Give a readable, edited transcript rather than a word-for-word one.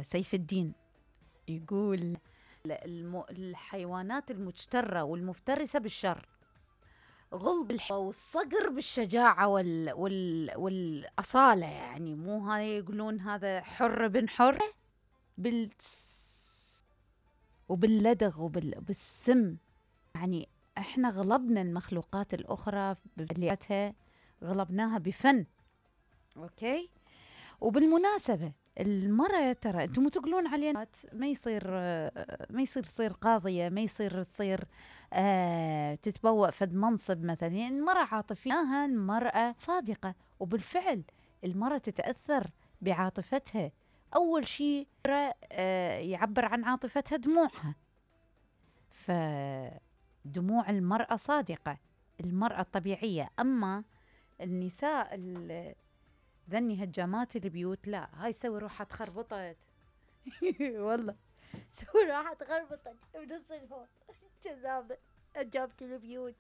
سيف الدين يقول الحيوانات المجترة والمفترسة بالشر، غلب والصقر بالشجاعة والأصالة. يعني مو هاي يقولون هذا حر بن حر وباللدغ وبالسم. يعني احنا غلبنا المخلوقات الأخرى بلياتها، غلبناها بفن. اوكي. وبالمناسبة المرأة ترى انتم تقولون علينا ما يصير تصير قاضية، ما يصير تصير تتبوأ فد منصب مثلا. يعني المرأة عاطفية، المرأة صادقة، وبالفعل المرأة تتأثر بعاطفتها. أول شيء يعبر عن عاطفتها دموعها، فدموع المرأة صادقة، المرأة الطبيعية. أما النساء ذني هجامات البيوت، لا، هاي سوي روحها تخربطت والله سوي روحها تخربطت بنص الهول كذابة هجامة البيوت.